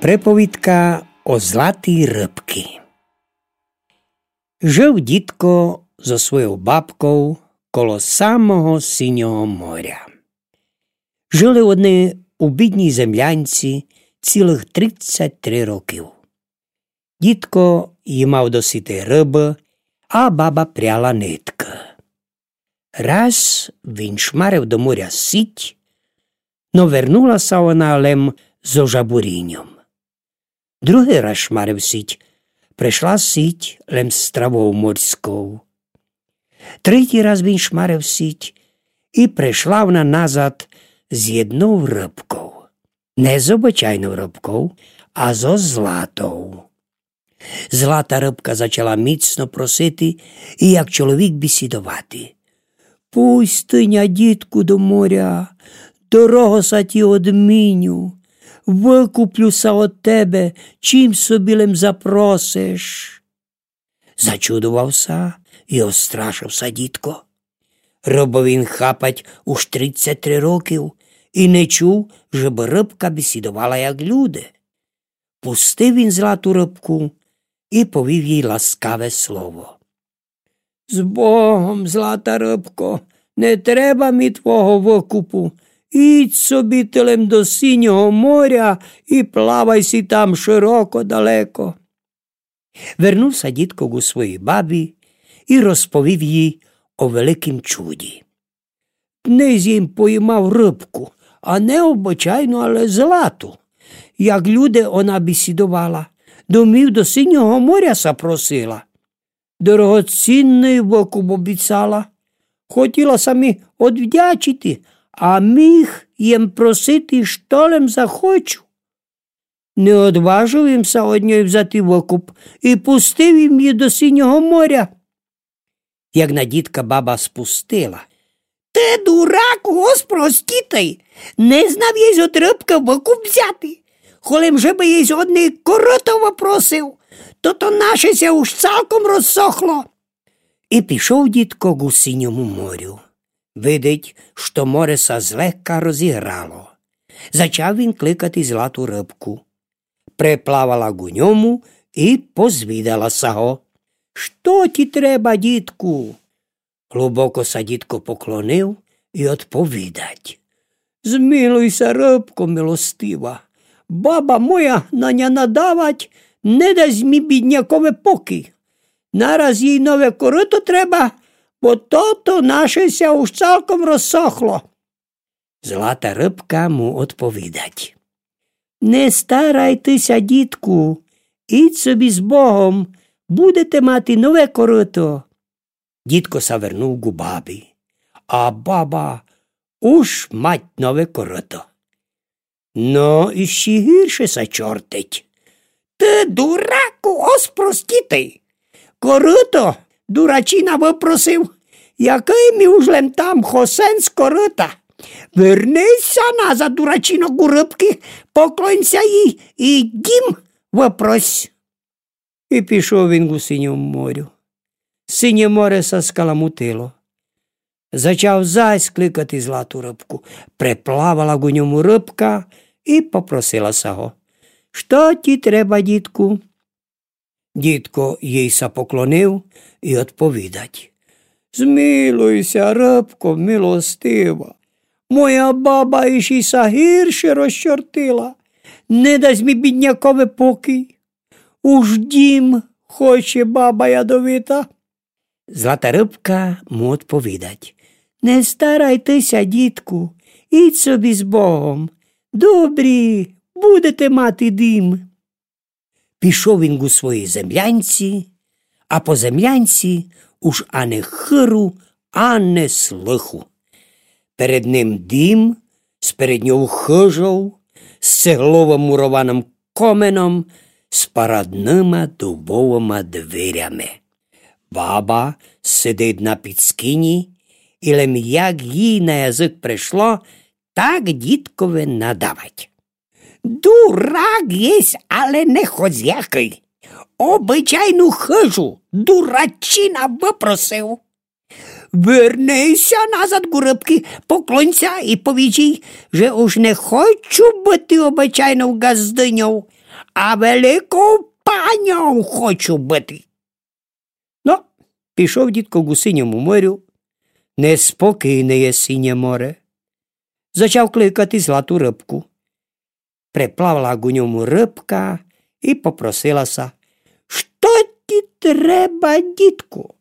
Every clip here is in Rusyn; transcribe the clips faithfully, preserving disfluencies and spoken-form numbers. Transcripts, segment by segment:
Приповідка о златій рыбкы. Жыв дїдко зо свойов бабков коло самого Синього моря. Жыли они у бідній землянці цілых тридцять три рокы. Дїдко їмав доситы рыбы, а баба пряла ниткы. Раз він шмарив до моря сіть, но вернула ся она лем зо жабуріньом. Другый раз шмарив сіть, пришла сіть лем з травов морськов. Третій раз він шмарив сіть, і пришла она назад з єднов рыбков. Не з обычайнов рыбков, а зо златов. Злата рыбка зачала міцно просити і як чоловік бісідовати: «Пусти ня, дїдку, до моря, дорого ся тї одміню, выкуплю ся од тебе, чим собі лем запросиш». Зачудовав ся і острашив ся дїдко. Рыбы він хапать уж тридцять три рокы і не чув, жебы рыбка бісідовала як люди. Пустив він злату рыбку і повів їй ласкаве слово: «З Богом, злата рыбко, не треба мі твого выкупу. Ідь собі ты лем до Синього моря і плавай сі там шыроко далеко». Вернув ся дїдко ґу своїй бабі і розповів їй о великім чуді. Днесь єм поїмав рыбку, а не обычайну, але злату. Як люди она бісідовала, домів до Синього моря ся просила. Дорогоцінный выкуп обіцала. Хотіла ся мі одвдячити, а міг єм просити, што лем захочу. Не одважив єм ся од ньой взяти выкуп і пустив єм її до Синього моря. Як на дїдка баба спустила: «Ты, дураку, ос простітый, не знав єсь од рыбкы выкуп взяти. Холем жебы єсь од ней корыто выпросив, то то наше ся уж цалком розсохло». І пішов дїдко ґу Синьому морю. Видить, што море ся злегка розіграло. Зачав він кликати злату рыбку. Приплавала ґу ньому і позвідала ся го: «Што тї треба, дїдку?» Глубоко ся дїдко поклонив і одповідать: «Змилуй ся, рыбко милостива, баба моя на ня надавать, не дасть мі біднякови покій. Нараз їй нове корыто треба, бо тото наше ся уж цалком розсохло». Злата рыбка му одповідать: «Не старай ты ся, дїдку, ідь собі з Богом, будете мати нове корыто». Дїдко ся вернув ґу бабі, а баба уж мать нове корыто. Но, іщи гірше ся чортить. Ты, дураку, ос простітый. Корыто дурачина выпросив, якый мі уж лем там хосен з корыта. Верни ся назад, дурачино, ґу рыбкы, поклонь ся їй і дім выпрос. І пішов він ґу Синьому морю. Синє море ся скаламутило. Зачав зась кликати злату рыбку. Приплавала ґу ньому рыбка і попросила ся го: «Што тї треба, дїдку?» Дїдко їй ся поклонив і одповідать: «Змилуй ся, рыбко милостива, моя баба іщи ся гірше розчортила, не дасть мі біднякови покій. Уж дім хоче баба ядовита». Злата рыбка му одповідать: «Не старай ты ся, дїдку, ідь собі з Богом. Добрі, будете мати дім». Пішов він ґу своїй землянці, а по землянці уж ани хыру, ани слыху. Перед ним дім, сперед ньов хыжов, з цеглово-мурованым коменом, з парадныма дубовыма дверями. Баба сидить на підскіні, і лем як їй на язык пришло, так дїдкови надавать: «Дурак єсь, але не хозяйкый. Обычайну хыжу дурачина выпросив. Верни ся назад ґу рыбкы, поклонь ся і повіж їй, же уж не хочу быти обычайнов ґаздыньов, а великов паньов хочу быти. Но, пішов дїдко ґу синьому морю, неспокійне є синє море. Зачав кликати злату рыбку. Приплавала ґу ньому рыбка и попросила ся: «Што ті треба, дїдку?»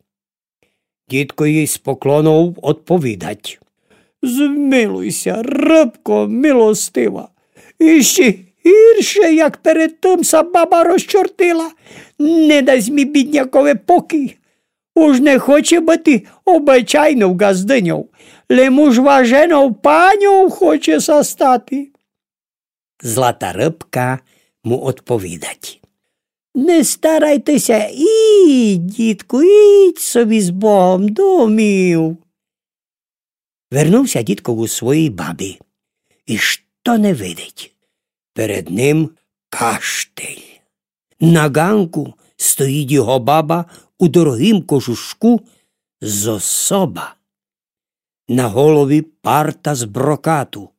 Дїдко їй з поклонов одповідать: «Змилуй ся, рыбко милостива, іщи гірше, як перед тым ся баба розчортила. Не дасть мі біднякови покій. Уж не хоче быти обычайнов ґаздыньов, лем уж важенов паньов хоче ся стати». Злата рыбка му одповідать: «Не старайте ся, ідь, дїдку, ідь собі з Богом домів». Вернув ся дїдко ґу своїй бабі. И што не видить? Перед ним каштель. На ґанку стоїть його баба у дорогім кожушку з особа. На голові парта з брокату.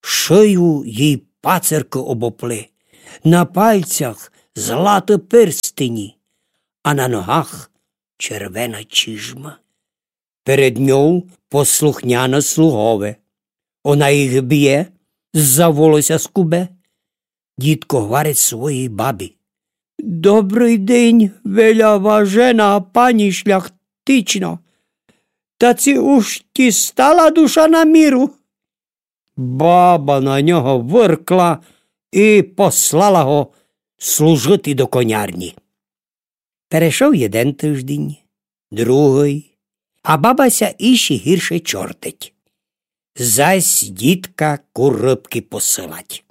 Шию їй пацеркы обопли, на пальцях златы перстені, а на ногах червена чижма. Перед ньов послухняны слугове. Она їх бє, за волося скубе. Дїдко гварить своїй бабі: «Добрый день, веляважена пані шляхтично. Та ци уж ті стала душа на міру?» Баба на нього выркла и послала го служыти до конярні. Перешов єден тыждень, другый, а баба ся іщи гірше чортить. Зась дїдка ку рыбкы посылать: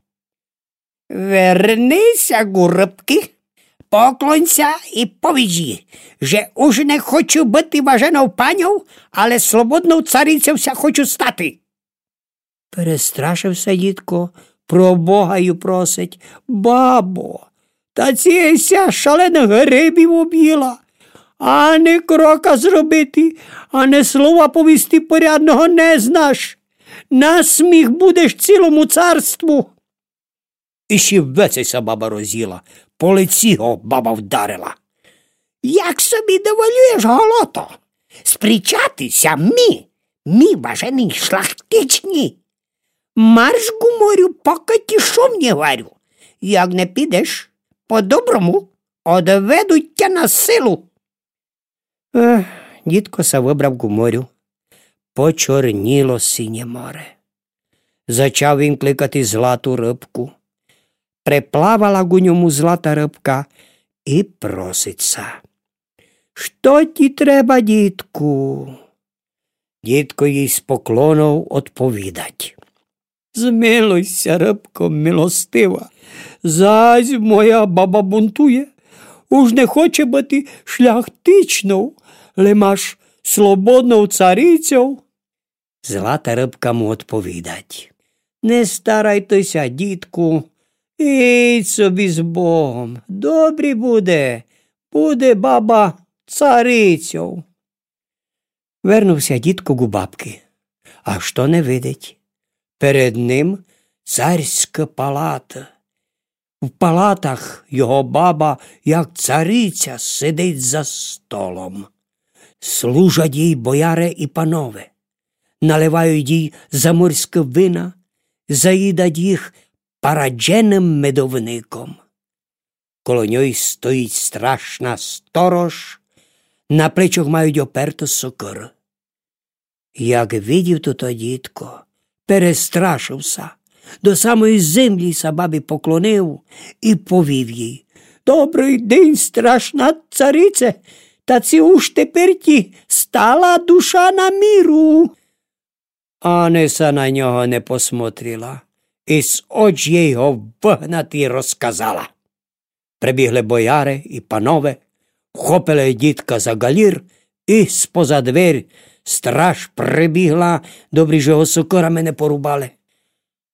«Верни ся ку рыбкы, поклонь ся и повідж їй, же уж не хочу быти важенов паньов, але слободнов царицьов ся хочу стати». Перестрашив ся дїдко, про Бога ю просить: «Бабо, та ци ся шаленых грибів обїла, ани крока зробити, ани слова повісти порядного не знаш. На сміх будеш цілому царству». Іщи веце ся баба розїла, по лици го баба вдарила: «Як собі доволюєш, голото? Спричати ся мі, мі, важеный шляхтичні? Марш ку морю, покы ті шум не гварю. Як не підеш по-доброму, одведу тя на силу». Ех, дїдко ся выбрав ку морю. Почорнїло синє море. Зачав він кликати злату рыбку. Приплавала ку ньому злата рыбка и просить ся: «Што ті треба, дїдку?» Дїдко їй з поклонов одповідать: «Змилуй ся, рыбко милостива, зась моя баба бунтує, уж не хоче быти шляхтичнов, лем аж слободнов царицьов». Злата рыбка му одповідать: «Не старайте ся, дїдку, ідь собі з Богом, добрі буде, буде баба царицьов». Вернув ся дїдко ку бабкы. А што не видить? Перед ним царська палата. В палатах його баба, як цариця, сидить за столом. Служать їй бояре и панове. Наливають їй заморські вина, заїдать їх парадженым медовником. Коло ньой стоїть страшна сторож, на плечох мають оперту сокыру. Як видів тото дїдко, перестрашив ся, до самої землї ся бабі поклонив и повів їй: «Добрый день, страшна царице, та ци уж тепер ті стала душа на міру?» Ани ся на нього не посмотрила, из очей го выгнати розказала. Прибігли бояре и панове, вхопили дїдка за ґалїр и споза дверь. Страж прибігла, добрі, же го сокырами не порубали.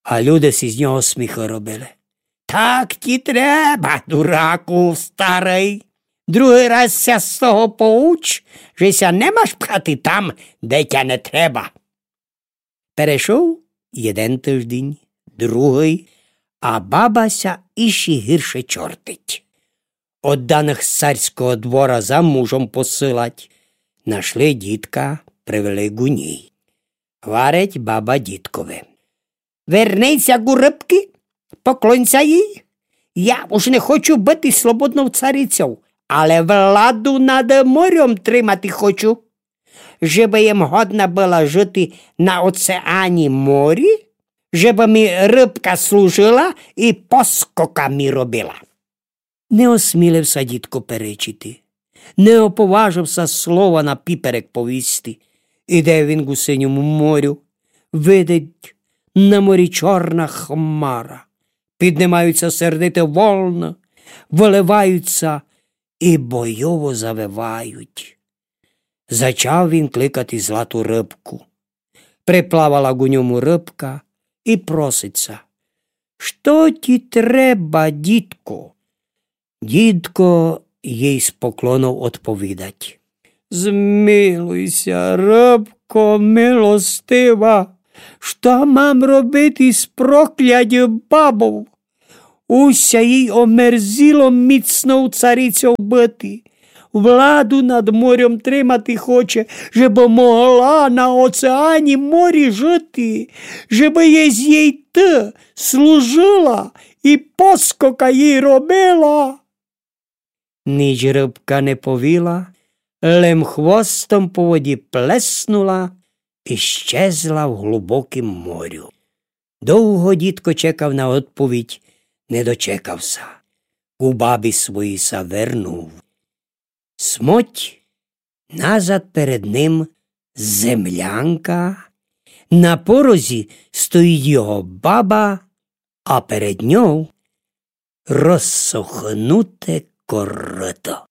А люде си з нього сміхы робили. «Так ті треба, дураку старый. Другый раз ся з того поуч, же ся не маш пхати там, де тя не треба». Перешов єден тыждень, другый, а баба ся іщи гірше чортить. Одданых з царського двора за мужом посылать. Нашли дідка, привели ґу ній. Гварить баба дідкови: Верни ся ґу рыбкы, поклонь ся їй. Я уж не хочу быти слободнов царицьов, але владу над морьом тримати хочу. Жебы єм годна была жыти на оцеані морі, жебы мі рыбка служыла і поскока мі робила. Не осмілив ся дідко перечити, не оповажив ся слова на піперек повісти. Іде він ґу синьому морю, видить на морі чорна хмара. Піднимають ся сердиты волны, выливають ся і бойово завывають. Зачав він кликати злату рыбку. Приплавала ґу ньому рыбка і просить ся: Што ті треба, дідку? Дідко їй з поклонов одповідать: Змилуй ся, рыбко милостива, што мам робити з проклятьов бабов? Уся їй омерзіло міцнов царицьов быти. Владу над морьом тримати хоче, жебы могла на оцеані морі жыти, жебы єй ты служыла і поскока їй робила. Ніч рыбка не повіла, лем хвостом по воді плеснула і щезла в глубокім морю. Довго дідко чекав на одповідь, не дочекав ся. Ку бабі своїй ся вернув. Смоть, назад перед ним землянка, на порозі стоїть його баба, а перед ньов розсохнуте корыто.